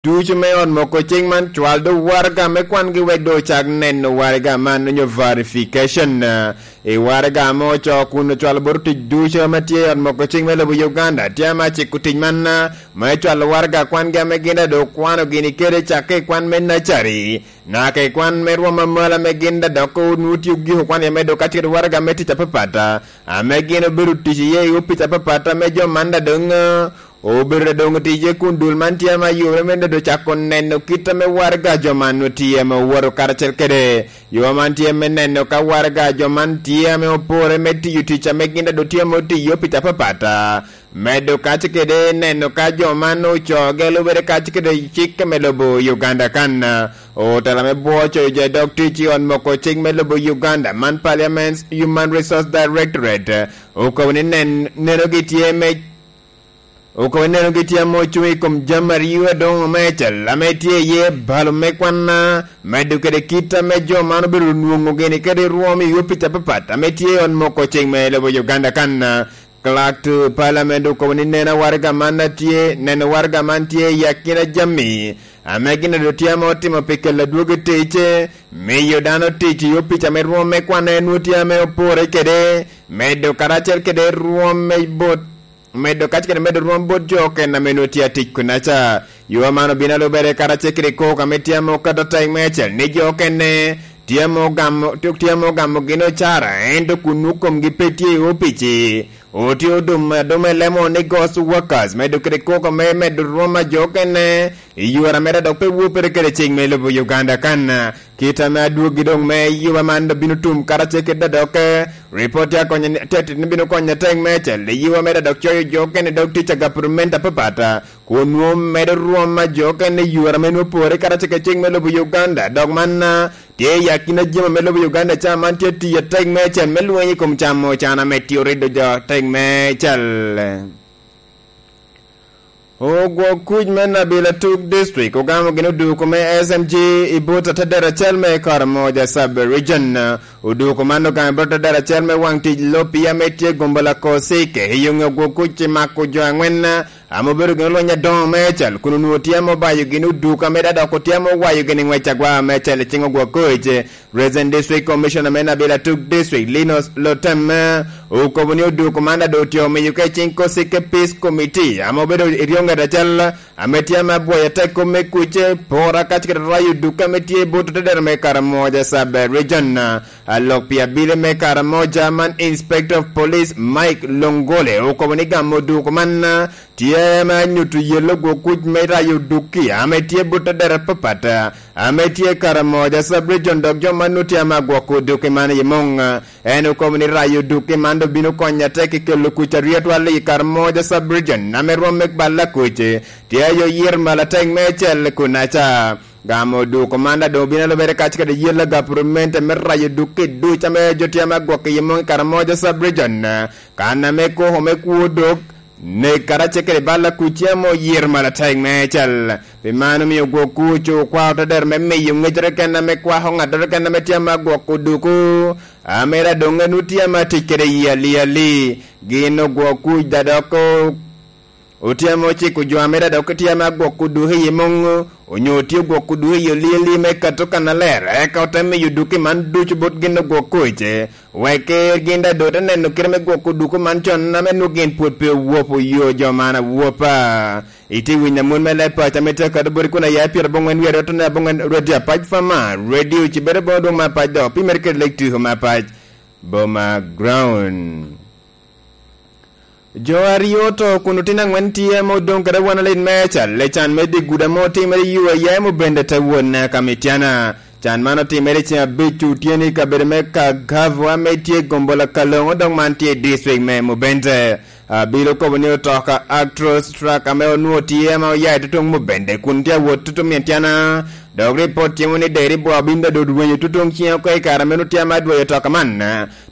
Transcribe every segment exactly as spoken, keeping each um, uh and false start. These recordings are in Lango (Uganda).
ducu me ot moko cing man, cwal do waraga me kwangi wek do ocak neno waraga man onyo verification, eh, i waraga ame ocoo kun ocwalo bot otic ducu ame tye i ot moko cing me lobo Uganda. Tye ame aciko tic man, eh, me cwalo waraga kwangi ame gin daŋ do okwano gini kede cakke i kwan me nacari, naka i kwan me rwom amalo ame gin daŋ dok onwoŋo tye ogiko kwan iye me do kacel waraga me tic apapat, eh, ame gin obedo tic iye i opic apapat ame jo man daŋ doŋ, eh, obedo doŋ tije kun dul man tye ame ayubere me doŋ cako neno kit ame waraga jo man otye ame owoto karacel kede yo man tye me neno ka waraga jo man tye ame opore me tiyo tic ame gin daŋ doŋ tye ame otiyo i opic apapat. Medo kac kede neno ka jo man ocoge lubere kac kede cik me lobo Uganda kan. Otela me bwo coyo jo i dog tic i ot moko cik me lobo Uganda man Parliament's Human Resource Directorate okobo ni nen-, nenogi tye me Okobo nenogi tye ame ocuŋ i kom jami aryo adoŋo me acel, ame tye iye balo me kwan, medo kede kit ame jo man obedo nwoŋo gini kede rwom i opic apapat ame tye i ot moko ceng me lobo Uganda kan. Clerk to Parliament okobo ni neno waraga man a tye, neno waraga man tye i akina jami ame gin ado tye ame otimo pi kelo adwogi tic, miyo dano tic i opic ame rwom me kwan en nwoŋo tye ame opore kede, medo karacel kede rwom me bot medo kac kede medo rwom bot jo okene ame nwoŋo tye atic kunaca. Yo man obino alubere karacel kede kok ame tye ame okato atek me acel ni jo okene tye ame ogamo, tye ame ogamo gin ocara, ento kun nwoŋo komgi pe tye i opic-ci. Otye odum aduma i lemo ni ghost workers, medo kede kok ame medo rwom a jo okene i yore ame dok pe wopere kede cik me lobo Uganda kan. Kit ame adwogi doŋ me yuba man obino tum karacel kede dok, eh, ripot tye akonyo ni, tye, tye, bino konyo atek me acel i yuba me dok coyo jo okene dog tic a gapurumenti apapat, kun nwoŋo medo rwom a jo okene i yore ame nwoŋo pore karacel kede cik me lobo Uganda. Dok man, ah, tye i akina jami ame lobo Uganda ca man tye tiyo atek me acel me lweny i kom camo can ame tye orido jo atek me acel. Ogwok kuc me Nabil Atuk District ogamo gin oduko me S M G i but atedero acel me Karamoja Sub-Region. Oduko man ogamo i but atedero acel me waŋ tic loppi ame tye Gombola Kosike i yoŋe ogwok kuc i mako jo aŋwen ame obedo gin olweny adoŋo me acel kun onwoŋo tye ame obayo gin oduko ame dok otye ame owayo gin i ŋwec agwa me acel i ciŋ ogwok kuc. Resident District Commissioner me Nabil Atuk District, Linus Lotem, eh, okobo ni oduko man ado otye omiyo ka i cing Kosike Peace Committee, ame obedo i ryoŋet acel, ame tye ame abwoyo atek kom me kuc, eh, pora kac kede rayo oduko ame tye i but otedero me Karamoja Sub-Region. Alok pi abili me Karamoja man Inspector of Police Mike Longole okobo ni gamo oduko man, eh, tye ame anyuto yello gwok kuc me rayo dukki ame tye but adera papat, ame tye Karamoja Sub-Region, dok jo man nwoŋo tye ame agwoko dukki man i muŋ. En okobo ni rayo dukki man doŋ bino konyo atek i kelo kuc aryo atwal i Karamoja Sub-Region, ame rwom me balla kuc tye ayo yir malo atek me acel kunaca. Gamo dukki man daŋ doŋ obino alubere kac kede yello gapurumenti me rayo dukki duc ame jo tye ame agwoko i muŋ i Karamoja Sub-Region. Kan ame koko me kwo dok, nek karacel kede bal akuc tye ame oyito malo atek meicel. Pi man omio gwok kuc okwao te dero me miyo ŋeccere keken ame kwako ŋattoro keken ame tye ame agwoko duku, ame daŋ doŋ en otye ame atic kede yie aliali. Gin ogwok kuc daŋ dok o-, otye ame ociko jo ame daŋ dok tye ame agwoko duku i muŋ, onyo otye ogwoko duku i oliali me kato kannaler, eka ote miyo duki man ducu bot gin ogwok kuc. Wek gin daŋ doŋ te neno kite me gwoko duku man con ame nwoŋo gin pwod pe owopo yo jo man awopa. Itye winyo amut me leb paco ame tye akato boti kun aya i pyerabongwen wiye aryo tone abongwen Radio Apac Fama, Radio Cibere boma dwoŋ me Apac dok pi mere kede lek tuko me Apac boma ground. Jo aryo oto kun otino angwen tye ame odoŋ kede awanalit me acal i can me dye gudo ame otimere i U A M Obende te wot naka Mityana. Can man otimere i ceŋ abic otyeno i kabedo me Kagavo ame tye i gombola Kalongo, dok man tye i district me Mubende. Abilo kobo ni otoka Actros truck ame onwoŋo tye ame oya i tutuŋ Mubende kun tye awot tutuŋ Mityana. Dok ripot timo ni deri bwa obin dado rwenyo tutuŋ ciŋe oko i kare ame onwoŋo tye ame adwoyo otoka man.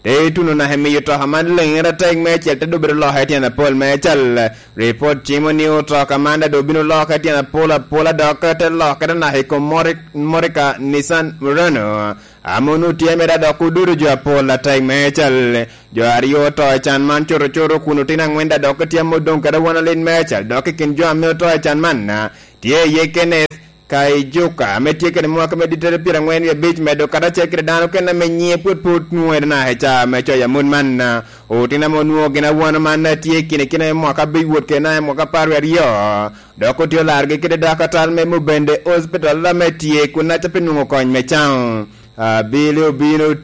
Te ituno naka i miyo otoka man leŋere atek meicel te dobedo loka i tyen apol meicel. Ripot cimo ni otoka man daŋ doŋ obino loka i tyen apol apola dok te lokere naka i kom mori-, motoka Nissan Murano, ame onwoŋo tye mere dok ododo jo apol atek meicel. Jo aryo oto i can man cuto cuto kun otino angwen daŋ dok tye ame odoŋ kede awanalit meicel, dok i kin jo ame oto i can man, Tye iye Kenneth Kaijuka, ame tye kede mwaka me dittere pyerangwen wie abic, medo kata acel kede dano kene ame nyiŋe pwod pe otwonere naka i caa me coyo amut man. Otino ame onwoŋo gin awano man tye i kine kine me mwaka abic wot kede naka i mwaka apar wie aryo, dok otye olarogi kede dakatal me Mubende Hospital ame tye kun aca pi nwoŋo kony me caŋo. Abili obino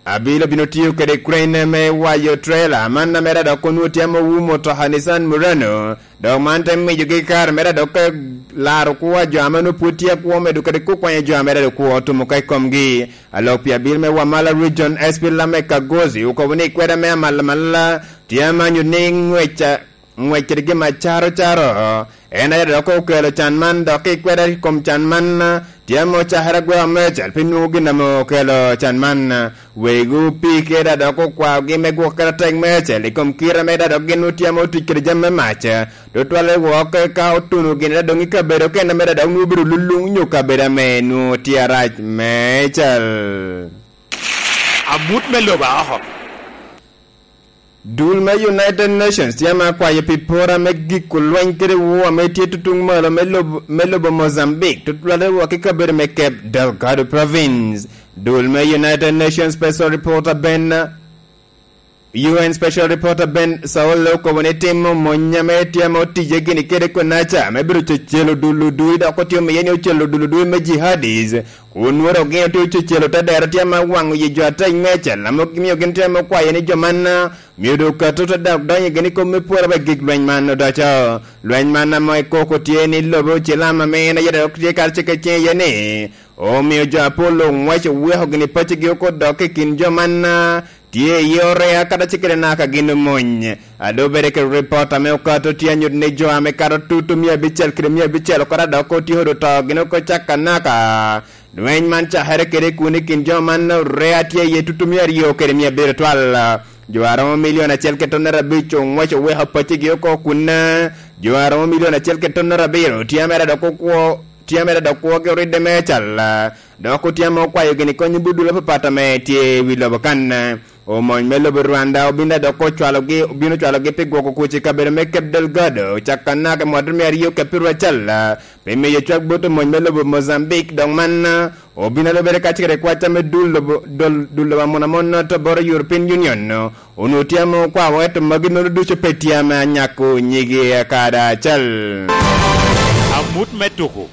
Abilo bino tiyo kede crane me wayo trailer man, a mere dok onwoŋo tye ame owumo mutoka Nissan Murano, dok man te miyogi kare mere dok ka laro kwo a jo ame onwoŋo pwod tye akwo medo kede kwo kwanyo jo a mere dok kwo otumo ka i komgi. Alok pi abil me Wamala Region, S P Lamek Kagozi, okobo ni kweda me amalamalala tye amanyo ni ŋwec a ŋwec kede gin acaro caro, en aye dok okelo can man, dok i kweda i kom can man, tye ame ocakere agweo meicel pi nwoŋo gin ame okelo can man. Wegi opii keda dok okwaogi me gwoko kede atek meicel i kom kite me da dok gin otye ame otic kede jami me mac, tutwalle wok ka otuno gin da doŋ i kabedo okene me da dok nwoŋo obedo luluŋ nyo kabedo ame nwoŋo tye arac meicel. Amut me lobo a oko. Dul me United Nations tye ame akwayo pi pora me giko lweny kede woo ame tye tutuŋ malo me lobo, me lobo Mozambique, tutwale wok i kabedo me Cape Delgado Province. Dul me United Nations Special Reporter Ben, U N Special Reporter Ben Saul okobo ni timo mony ame tye ame otije gini kede konaca me bedo cecelo dul odui, dok otye omiye ni ocelo dul odui me jihadis, kun nwero gin otye ocecelo te dero tye ame waŋo yi jo atek meicel, ame gimiyo gin tye ame okwayo ni jo man, ah, myero doŋ okato te dok donyo gin i kom me pworo pi gik lweny man odoco. Lweny man ame koko tye ni lobo Cilam ame en aye dok tye karacel kede ciŋ iye ni, omio jo apol oŋwec oweko gini paccigi oko dok i kin jo man, ah, tye iye orea kadi acel kede naka gin omony. A doŋ obed kede ripot ame okato tye anyuto ni jo ame kato tutu mia abicel kede mia abicel oko dok otyeko doŋ to gin oko caka naka. Lweny man cakere kede kun i kin jo man orea tye iye tutu mia aryo kede mia abiro twal. Jo a romo milion acel kede tonnere abic oŋwec oweko paccigi oko kun, jo a romo milion acel kede tonnere abiro tye mere dok okwo, tye mere dok kwogi oridde meicel, dok otye ame okwayo gini kony i budul apapat ame tye i wi lobo kan. Omony me lobo Rwanda obin dok ocwalogi, obino cwalogi pi gwoko kuc i kabedo me Cape Delgado, caka naka i mwaka me aryo kede pyeraryo acel, pi miyo cwak bot omony me lobo Mozambique, dok man, ah, obino lubere kacel kede kwaca me dul lobo, dul, dul lobo amonamon to boro European Union, onwoŋo tye ame okwao, ento magi nono ducu pe tye ame anyako nyigi kadi acel. Amut me tuko.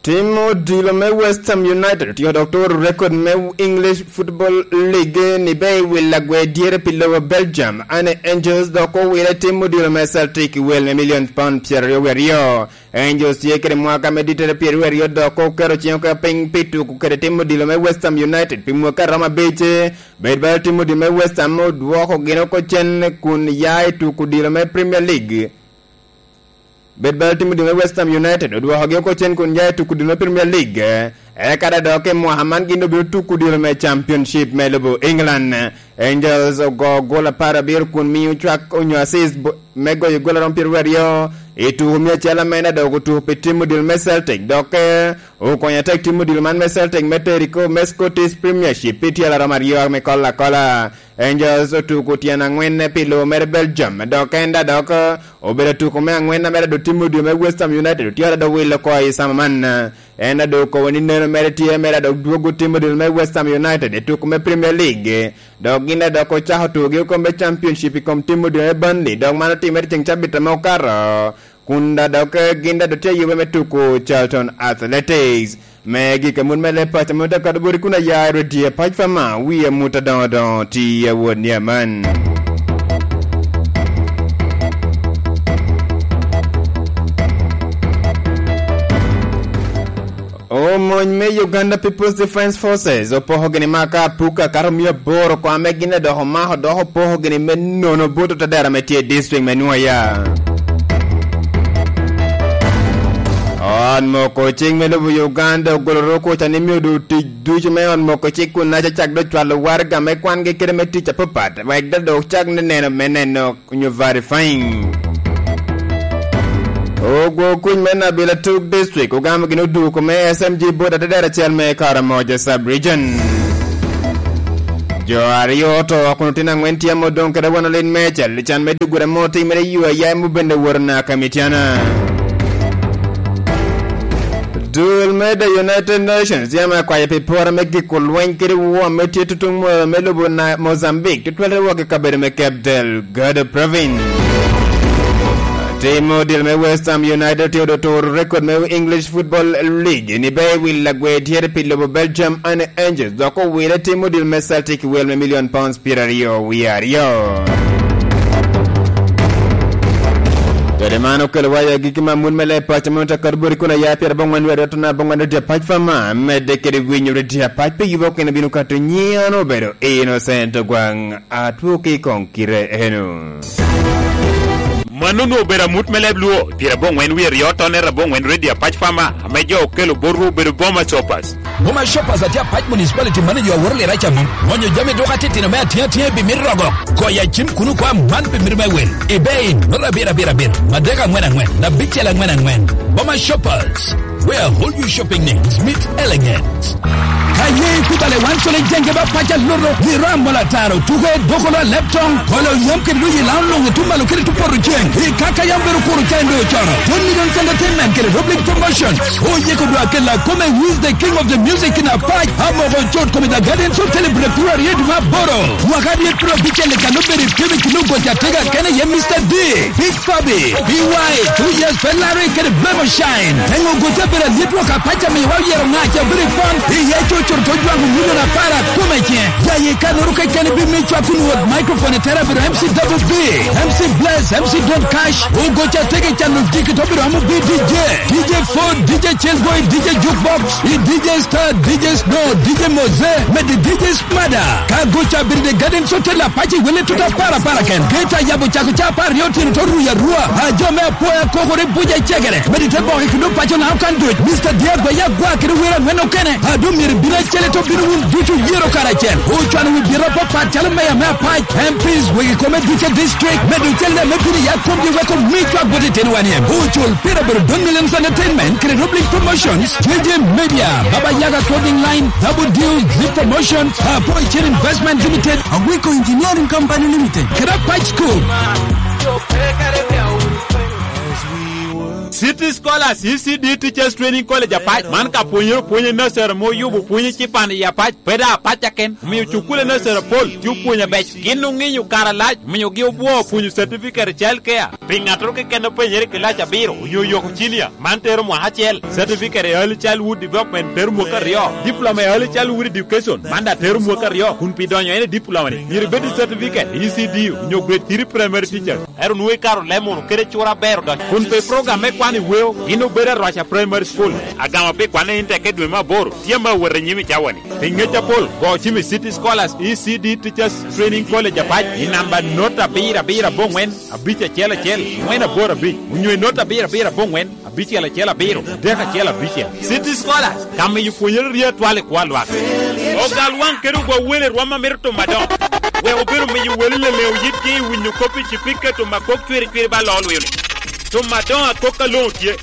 Tim odilo me West Ham United otyeko dok turo rekod me English Football League ni be i wi lagwe dyere pi lobo Belgium, Anne Angels dok owire tim odilo me Celtic i wel me milion pound pyeraryo wie aryo. Angels tye kede mwaka me dittere pyeraryo aryo dok oketo ciŋe oko piny pi tuko kede tim odilo me West Ham United pi mwaka a romo abic. Bed bala tim odilo me West Ham odwoko gin oko cen kun ya i tuko odilo me Premier League. Bed bala tim odilo me West Ham United odwokogi oko cen kun ya i tuko odilo me Premier League. Eka da dok i mwaka man gin obino tuko odilo me Championship me lobo England. Angels ogo gol apar abiro kun miyo cwak onyo assist bo-, me goyo gol aromo pyeraryo aryo i tuko mia acel ame en adok otuko pi tim odilo me Celtic. Dok, eh, okonyo atek tim odilo man me Celtic me tero i kor me Scottish Premiership pi tyel aromo aryo me kolo akola. Angels otuko tyen angwen pi lobo mere Belgium, dok en da dok obedo tuko me angwen a mere dok tim odilo me West Ham United otye da dok wilo oko i sama man. En da dok okobo ni neno mere tye mere dok dwogo tim odilo me West Ham United i tuko me Premier League, dok gin da dok ocako tukogi oko me Championship i kom tim odilo me Burnley, dok man otimere ceŋ cabit ame okato. Kun da dok, eh, gin da dok tye ayube me tuko Charlton Athletics. Me gik amut me leb paco ame ote kado boti kun aya i redio pac pa ma, wi amut adoŋo doŋo ti awot ni aman. Omony me Uganda People's Defence Forces opoko gini maka apuka kato mia aboro kwa me gin adoko mako dok opoko gini me nono bot otadera me tye i district me Nwoya. Ot moko cing me lobo Uganda ogolo roko ca ni mio du tic ducu me ot moko cik kun naca cak do cwalo waraga me kwangi kede me tic apapat, wek da dok cak ni neno me neno nyo verifying. Ogwo kuc me Nabil Atuk District ogamo gin oduko me S M G bot atedero acel me Karamoja Sub Region. Jo aryo oto, kun otino angwen tye ame odoŋ kede wano lit meicel. Can me dugure ame otimere i yo a yam obende woro naka Mityana. Dul me The United Nations yam akwayo pi pora me giko lweny kede woo ame tye tutuŋ mo-, me lobo na Mozambique, tutwal i wok i kabedo me Cape Delgado Province. Tim odil me West Ham United tye odo turo rekod me English Football League ni be i wi lagwe tye pi lobo Belgium Anne Angels, dok owile tim odil me Celtic wel me million pounds pyeraryo wie aryo. Kede man okelo wa i agikki me amut me leb paco me Otakar Bori kun aya pyerabongwen wie aryo tona abongwen redio apac fama, medde kede winyo redio apac pe yubo kene bino kato nyian obedo Innocent Ogwang. Atwo ki i koŋ kite eno. Mano onwoŋo obedo amut me leb Luo, pyerabongwen wie aryo tone rabongwen redio apac fama, ame jo okelo botwu obedo Boma Shoppers. Boma Shoppers atye apac municipality manager a woro liraca mom. Ŋonyo jami dok atitino me atiŋa atiŋa i bimit rogo. Goyo acim kun okwa man pi mito me wel. Ibe in, nota abiro abiro abiro, adek angwen angwen, abicel angwen angwen. Boma Shoppers, where all your shopping needs meet elegance. Ka ye ikubale wan cole jenge ba paca luto, ni ram mola taro, tuke doko lo leptong, kolo yam kede doji lao longe tumalo kede tupoto ceng. Ikaka yam bedo kuro cendo cono. Tony Millions Entertainment kede Rob League Promotions. Oyeko dwa kela kome, who is the king of the music in Apac. Amoko chot kome the Guardians of Celebrate February ma boro. Mwaka dyet pro bicel kan obedo i kemi kino goca tega kene ye Mister D. Big Fabi, B Y, two years pe Larry kede Blemo Shine. Teŋo goca bedo alyet wok apac amiwa oyero ŋac a bedo i pon. Iye cocoro to jwaŋo milion apar akome cen. Jaye kanoro kekeni bi mi cwak kun wot microphone i tera bedo M C Double B, M C Bless, M C Don Cash. Ogoca tege cano jiki to bedo amo bi D J. D J Ford, D J Chillboy, D J Jukebox, i D J Star, D J Snow, D J Mose, med D J Mada, ka goca bedo the Garden Hotel apac i wele tuta para para ken. Geta yabo cako ca apar aryo otyeno to ruya rua. A jo me apoya kokore buja i cegere. Medi te boke kuno paco na okan duc. Mister Diego ya gwa kede wera angwen okene. A do myero bino acele to bino wun ducu yero karacel. Ocwano wi biro papat calo meya me apac, M Ps, wegi kome duce district. Medo cel ne me bino ya komgi weko mi cwak bot itino wan iem. Ocul pira bedo Don Millions Entertainment, kede Rob League Promotions, J J Media, Baba Yaga Clothing Line, Double Deal, Zip Promotion, Apo Icen Investment Limited, Agwiko Engineering Company Limited, kede Apac School. City Scholars, E C D Teachers Training College Apac. Man ka pwonyere opwonyo nursery ma oyubo pwonyo cipan i Apac, pe da Apac aken. Omio cukule nursery apol tye opwonyo abec. Gin oŋinyo kare alac, omiogi obwo opwonyo certificate child care. Pi ŋattoro keken openyere i kilac abiro onyo oyoko cinia, man tero mwaka acel. Certificate i Early Childhood Development tero mwaka aryo. Diploma i Early Childhood Education, man daŋ tero mwaka aryo, kun pi donyo en i diploma-ni, myero ibed i certificate i E C D onyo grade three primary teacher. Ero nwoŋo ikaro leb munu kede cura aber odonyo. Kun pe program me kwan i weo, gin obedo Arwaca Primary School. Agamo pi kwanne in tekke dwe me aboro, tye ame awot i nyim i cawa-ni. Pi ŋec apol, go cim i City Scholars E C D Teachers Training College Apac i namba nota abiro abiro abongwen, abic acel acel, ngwen aboro abic, onyo i nota abiro abiro abongwen, abicel acel abiro, adek acel abicel. City Scholars, ka miyo pwonyere rye atwal i kwo a lwak. Ogal waŋ kede ogwa wele rwom a mito tuma doŋ. Wek obedo miyo wele leleŋo yitgi i winyo kop i cipika tuma kok cwiri cwiri ba loo lwio-ni. Tuma doŋ akok aloŋo tye.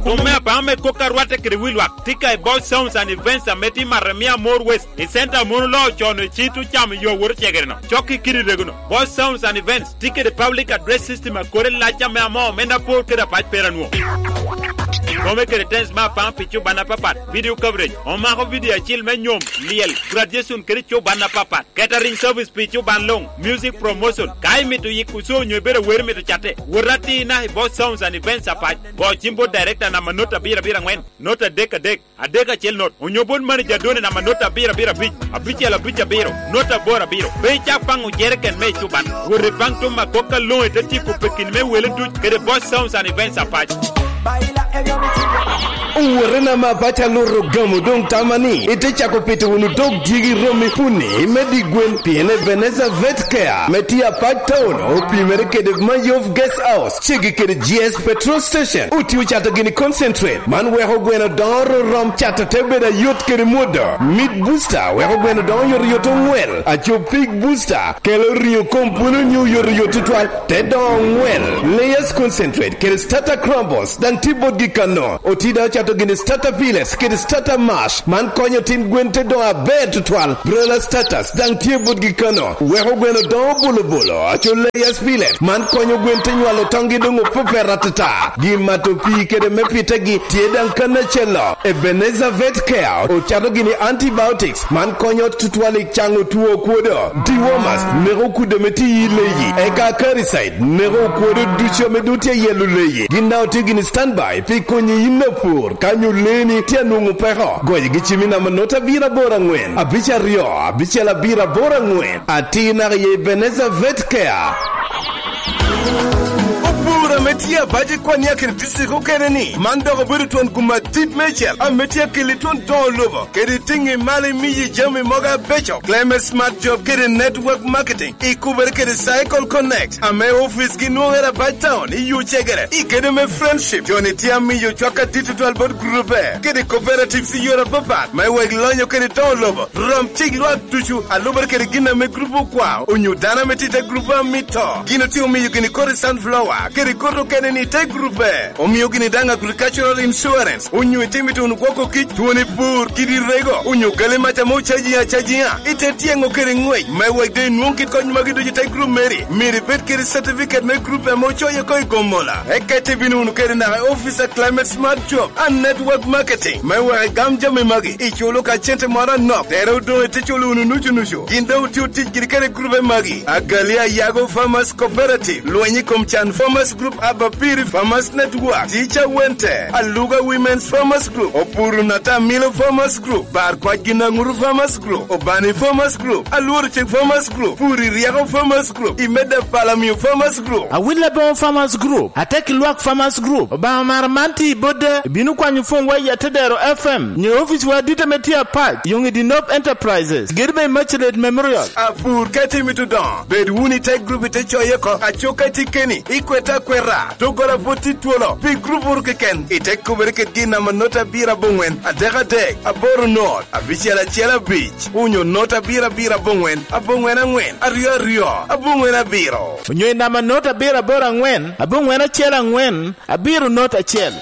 Tuma me apaŋo me kok a rwatte kede wi lwak tye ka i Boss Sounds and Events ame tye i Maremia More West, i center a mon oloo con i cit ocamo yo awot ocegere-no. Cok i kidi rego-no. Boss Sounds and Events tye kede public address system a kore lac ame amoo omenda apor kede apac pera nwo. Kome kede tens me apaŋ pi cuban apapat, video coverage, omako video acil me nyom, lyel, graduation kede cuban apapat, catering service pi cuban luŋ, music promotion, ka imito yiko show onyo ibedo awero imito catte, wot atina i Boss Sounds and Events Apac, go cim bot director namba nota abiro abiro angwen, nota adek adek, adek acel not, onyo bot manager Done namba nota abiro abiro abic, abicel abic abiro, nota aboro abiro. Pe icak paŋo jeriken me ecuban. Wot ipaŋ tuma kok aloŋo ite tipo pekin me wele duc kede Boss Sounds and Events Apac. Owotena ma paco aluto gamo doŋ tama ni ite cako pito wunu dog dyegi romi puni me di gwen, pien Ebenezer Vet Care me tye Apac Town opimere kede Mayov Guest House, ceggi kede G S Petrol Station. Otio cato gini concentrate, man weko gweno dongo rorom, cato te bedo ayot kede mwodo. Meat Booster weko gweno dongo yot yot ongwel. Aco Pig Booster kelo ringo kom pwolo nyo yot yot tutwal, te dongo ongwel. Layers Concentrate kede Starter Crumbles daŋ tye botgi kano. Oti daŋ Oketo gini starter pellets kede starter mash, man konyo tin gwen te dongo aber tutwal. Broiler starters daŋ tye botgi kano, weko gweno dongo bolo bolo. Aco layers pellet, man konyo gwen te nywalo toŋgi doŋ opepet atata. Gin mato pii kede me pitegi tye daŋ kan acel-lo. Ebenezer Vet Care ocato gini antibiotics, man konyo tutwal i caŋo two okwodo. Dewormers neko kudde me tiyi i leyi, eka acaricide neko okwodo ducu ame doŋ tye yelo leyi. Gin daŋ otye gini standby pi konyi yin apur ka nyo leeni tye anwoŋo peko. Goyo gi cim i namba nota abiro aboro aŋwen, abic aryo, abicel abiro aboro aŋwen. Atir naka i Ebenezer Vet Care. Opur ame tye abac i Kwania kede district okene ni, man dok obedo twon gum adit mecel ame tye akeli twon doŋo lobo kede tiŋi malo imiyi jami mogo abeco. Clement Smart Job kede Network Marketing ikubere kede Cycle Connect, ame ofice gi nwoŋere abac town i Yucegere i kede me Friendship. Joni tye amiyo cwak adit tutwal bot grube kede cooperatives i yore apapat me wek lonyo kede doŋo lobo. Rom cik lwak ducu, alubere kede gin ame grup okwao, onyo dano ame tye i te grup amito. Gin otye omiyo gini kodi sunflower, kede kodi okene ni i te grupe. Omio gini daŋ agricultural insurance, onyo itimo ituno gwoko kic, twoni pur, kidi rego, onyo gali mac ame ocaji acajiŋa. Ite tyeŋo kede ŋwec, me wek doŋ inwoŋ kit kony magi ducu i te grup meri, myero ibed kede certificate me grup ame ocoyo oko i Gomola. Eka ite bino wunu kede naka i office a Climate Smart Job and Network Marketing, me wek igam jami magi, iculo ka cente moro anok, tere odoŋ ite culo wunu nucu nucu. Gin doŋ otio tic giri kede grube magi: Agali Ayago Farmers Cooperative, Lweny i kom Can Farmers Group, Abapiri Farmers Network, Teacher Wente, Aluga Women's Farmers Group, Opuru Nata Milo Farmers Group, Bar Kwac Ginaŋuru Farmers Group, Obani Farmers Group, Alworo Cik Farmers Group, Puri Ryeko Farmers Group, Imeda Palamio Farmers Group. Awil Aboŋo Farmers Group, Atek Lwak Farmers Group, Obaŋa Mara man tye i Bodde, ibino kwanyo pwony wa i Atedero F M, nyo ofice wa adit ame tye apac, Yoŋ i Dinop Enterprises, gedo me Immaculate Memorial. Apur ka itye mito dongo, bed wunu i te grup ite coye oko, aco ka itye keni, ikwete akweta, doggola pwod tye twolo, pi grup oro keken, ite kubere kede gin namba not abiro aboŋwen, adek adek, aboro not, abicel acel abic, onyo not abiro abiro aboŋwen, aboŋwen aŋwen, aryo aryo, aboŋwen abiro. Onyo i namba not abiro aboro aŋwen, aboŋwen acel aŋwen, abiro not acel.